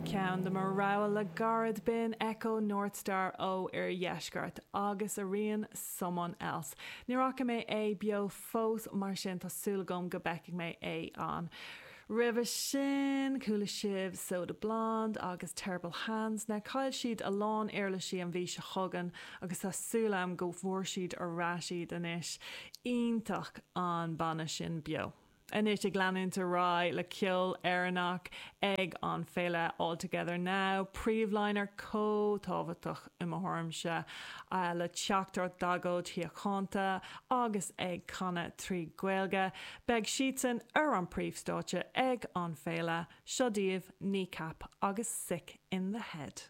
Ceann de mo rogha le gairid, b'in Echo Northstar ó Oirdheisceart agus a rian Someone Else. Níor fhaca mé é beo fós mar sin tá súil agam go bhfeicfidh mé é an. Roimhe sin, chuala sibh Soda Blonde agus Terrible Hands. Now chaill siad a lán uirlisí an mhí seo chugainn agus tá súil agam go bhfuair siad ar ais iad anois. Iontach an banna sin beo. Anois ag leanúint ar aghaidh le ceol Éireannach ag an féile All Together Now, príomhliner chomh tábhachtach i mo thuairimse, le teachtaireacht d'agóid shíochánta agus ag canadh trí Ghaeilge. Beidh siadsan ar an príomhstáitse ag an féile. Seo daoibh Kneecap agus Sick in the Head.